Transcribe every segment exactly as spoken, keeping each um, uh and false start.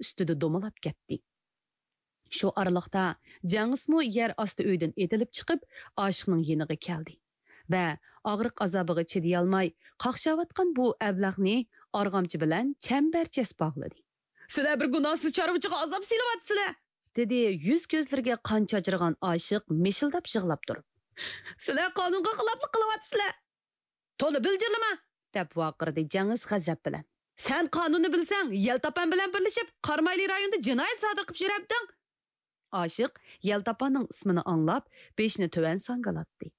ئۈستىدە دومىلاپ كەتتى. شۇ ئارىلىقتا جەڭئىسمۇ يەر ئاستى ئۆيدىن ئېتىلىپ چىقىپ، ئاشىقنىڭ يېنىغا كەلدى ۋە ئاغرىق ئازابىغا چىدىيالماي، قاقشاۋاتقان بۇ ئەبلەخنى ئارغامچا بىلەن چەمبەرچەس باغلىدى. «سىلەر بىر گۇناھسىز چارۋىچىغا ئازاب سېلىۋاتىسىلەر!» دېدى يۈز كۆزلىرىگە قان چاچرىغان ئاشىق مىشىلداپ يىغلاپ تۇرۇپ. «سىلەر قانۇنغا خىلاپلىق قىلىۋاتىسىلەر!» «تولا بىلجىرلىما!» دەپ ۋارقىرىدى جەڭئىس غەزەپ بىلەن. «سەن قانۇننى بىلسەڭ، يەلتاپان بىلەن بىرلىشىپ، قارامايلى رايونىدا جىنايەت سادىر قىلىپ يۈرەمدىڭ!» ئاشىق يەلتاپاننىڭ ئىسمىنى ئاڭلاپ، بېشىنى تۆۋەن ساڭگىلاتتى.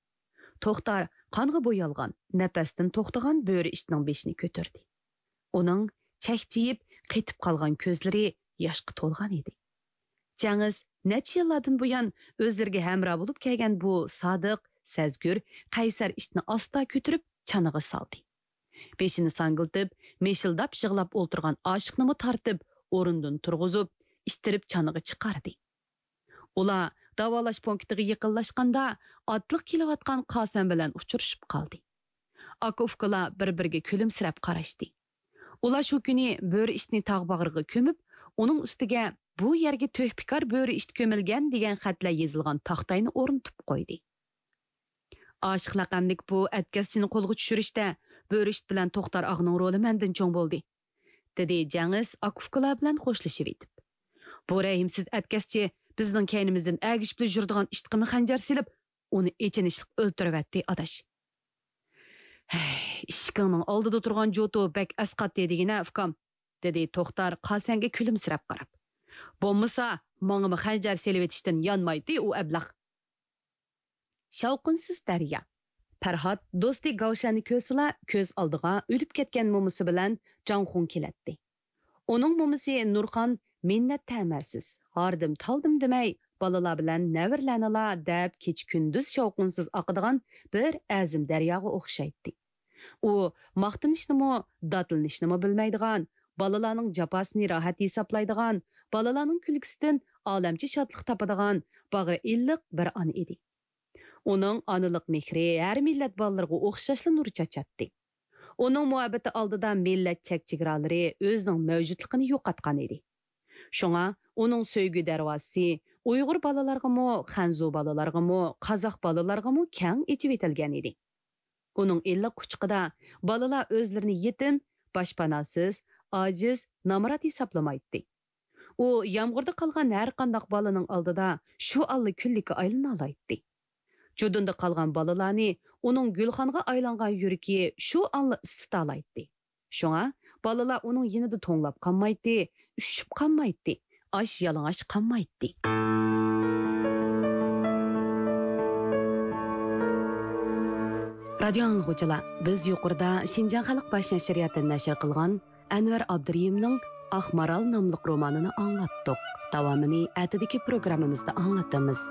توختار قانغا بويالغان، نەپەستىن توختىغان بۆرە ئىتنىڭ بېشىنى كۆتۈردى. ئۇنىڭ چەكچىيىپ، قېتىپ قالغان كۆزلىرى ياشقا تولغان ئىدى. جەڭئىس نەچچە يىللاردىن بۇيان ئۆزلىرىگە ھەمراھ بولۇپ كەلگەن بۇ سادىق، سەزگۈر، قەيسەر ئىتنى ئاستا كۆتۈرۈپ، چانىغا سالدى. بېشىنى ساڭگىلىتىپ، مىشىلداپ يىغلاپ ئولتۇرغان ئاشىقنىمۇ تارتىپ، ئورنىدىن تۇرغۇزۇپ، ئىتتىرىپ چانىغا چىقاردى. ئۇلار داۋالاش پونكىتىغا يېقىنلاشقاندا، ئاتلىق كېلىۋاتقان قاسەن بىلەن ئۇچرىشىپ قالدى. ئاكا-ئۇكىلار بىر-بىرىگە كۈلۈمسىرەپ قاراشتى. ئۇلار شۇ كۈنى بۆرە ئىتنى تاغ باغرىغا كۆمۈپ، ئۇنىڭ ئۈستىگە «بۇ يەرگە تۆھپىكار بۆرە ئىت كۆمۈلگەن» دېگەن خەتلەر يېزىلغان تاختاينى ئورنىتىپ قويدى. «ئاشىق لەقەملىك بۇ ئەتكەسچىنى قولغا چۈشۈرۈشتە بۆرە ئىت بىلەن توختار ئاغىنىڭ رولى مەندىن چوڭ بولدى»، دېدى جەڭئىس ئاكا-ئۇكىلار بىلەن خوشلىشىۋېتىپ. «بۇ رەھىمسىز ئەتكەسچى بىزنىڭ كەينىمىزدىن ئەگىشىپلا يۈرىدىغان ئىتقىمۇ خەنجەر سېلىپ، ئۇنى ئېچىنىشلىق ئۆلتۈرۈۋەتتى، ئاداش.» «ھەي، ئىشىكىڭنىڭ ئالدىدا تۇرغان جوتۇ بەك ئەسقاتتى دېگىنە، ئۇكام»، دېدى توختار قاسەنگە كۈلۈمسىرەپ قاراپ. «بولمىسا، ماڭىمۇ خەنجەر سېلىۋېتىشتىن يانمايتتى ئۇ ئەبلەخ.» شاۋقۇنسىز دەريا. پەرھات دوستى گاۋشەننى كۆرسىلا، كۆز ئالدىغا ئۆلۈپ كەتكەن مومىسى بىلەن جاڭخۇڭ كېلەتتى. ئۇنىڭ مومىسى نۇرخان مىننەت تەمەسىز، ھاردىم-تالدىم دېمەي، بالىلار بىلەن نەۋرىلەرنىلا دەپ كېچە-كۈندۈز شاۋقۇنسىز ئاقىدىغان بىر ئەزىم دەرياغا ئوخشايتتى. ئۇ ماختىنىشنىمۇ، داتلىنىشنىمۇ بىلمەيدىغان، بالىلارنىڭ جاپاسىنى راھەت ھېسابلايدىغان، بالىلارنىڭ كۈلكىسىدىن ئالەمچە شادلىق تاپىدىغان باغرى ئىللىق بىر ئانا ئىدى. ئۇنىڭ ئانىلىق مېھرى ھەر مىللەت بالىلىرىغا ئوخشاشلا نۇر چاچاتتى. ئۇنىڭ مۇھەببىتى ئالدىدا مىللەت چەك-چېگرالىرى ئۆزىنىڭ مەۋجۇتلۇقىنى يوقاتقان ئىدى. شۇڭا ئۇنىڭ سۆيگۈ دەرۋازىسى ئۇيغۇر بالىلارغىمۇ، خەنزۇ بالىلارغىمۇ، قازاق بالىلارغىمۇ كەڭ ئېچىۋېتىلگەن ئىدى. ئۇنىڭ ئىللىق قۇچىقىدا بالىلار ئۆزلىرىنى يېتىم، باشپاناسىز، ئاجىز، نامرات ھېسابلىمايتتى. ئۇ يامغۇردا قالغان ھەرقانداق بالىنىڭ ئالدىدا شۇ ئاللا كۈللۈككە ئايلىنالايتتى. جۇدۇندا قالغان بالىلارنى ئۇنىڭ گۈلخانغا ئايلانغان يۈرىكى شۇ ئاللا ئىسسىتالايتتى. شۇڭا بالىلار ئۇنىڭ يېنىدا توڭلاپ قالمايتتى، ئۈششۈپ قالمايتتى، ئاچ يالىڭاچ قالمايتتى. رادىيو ئاڭلىغۇچىلار، بىز يۇقىرىدا شىنجاڭ خەلق باش نەشرىياتى نەشر قىلغان ئەنۋەر ئابدۇرېھىمنىڭ ئاق مارال ناملىق رومانىنى ئاڭلاتتۇق. داۋامىنى ئەتىدىكى پروگراممىمىزدا ئاڭلىتىمىز.